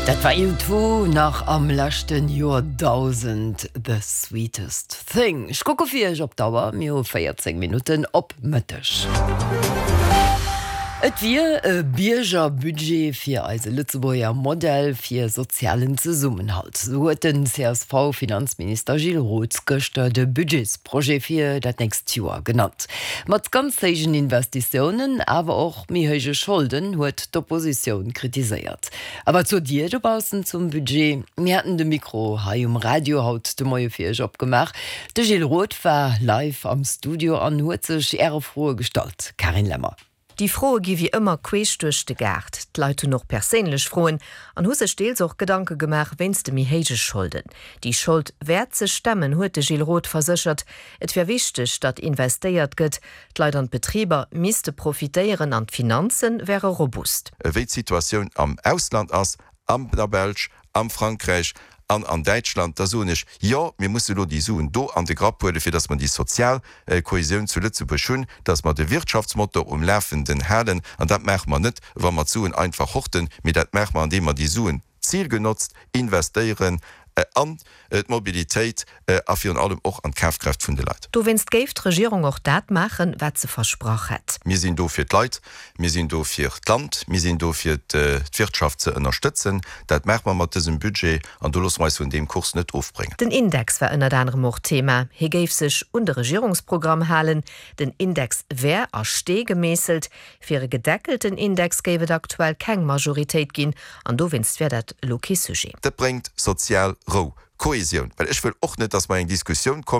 Dat war U2 nach am leschten Joerdausend, The Sweetest Thing. Ech kucke fir iech op d'Auer, mir hu 14 Minutten op Mëtteg. Et wier e Biergerbudget fir eise Lëtzebuerger Modell fir sozialen Zesummenhalt, sou huet den CSV-Finanzminister Gilles Roth gëschter de Budgetsprojet fir dat nächst Joer genannt. Mat ganz héijen Investitiounen, awer och méi héije Scholden, huet d'Oppositioun kritiséiert. A wat sot Dir dobaussen zum Budget? Mir haten de Mikro hei um Radio haut de Moie fir Iech opgemaach. De Gilles Roth war live am Studio an huet sech Äre Froe gestallt. Carine Lemmer. Déi Froe gi wéi ëmmer queesch duerch de Gaart. D'Leit hunn och perséinlech Froen an hu sech deels och Gedanke gemaach wéinst de méi héije Scholden. Déi Schold wäert sech stemmen, huet de Gilles Roth verséchert. Et wär wichteg, datt investéiert gëtt. D'Leit an d'Betriber misste profitéieren an d'Finanze wäre robust. Wéi d'Situatioun am Ausland ass, an der Belsch, am Frankräich an an Däitschland, da soen ech, Jo, mir musse elo déi Suen do an de Grapp huelen, fir datt mer déi sozial Kohäsioun zu Lëtzebuerg hunn, datt mer de Wirtschaftsmotor um Lafenden halen. An dat maache mer net, wa mer d'Suen einfach horten, mee dat maache mer, andeem mer déi Suen zilgenotzt investéieren an d'Mobilitéit a virun allem och an d'Kafkraaft vun de Leit. Dowéinst géif d'Regierung och dat maachen, wat se versprach hätt. Mir sinn do fir d'Leit, mir sinn do fir d'Land, mir sinn do fir d'Wirtschaft ze ënnerstëtzen. Dat maache mer mat dësem Budget an do loosse mer eis vun deem Kurs net ofbréngen. Den Index war ënnert anerem och Thema. Hie géif sech un de Regierungsprogramm halen. Den Index wär a Stee gemeesselt. Fir e gedeckelten Index géif et aktuell keng Majoritéit ginn an dowéinst wär dat elo kee Sujet. Dat bréngt sozial Rou, Kohesioun, well ech wëll och net, dass mer eng Diskussioun.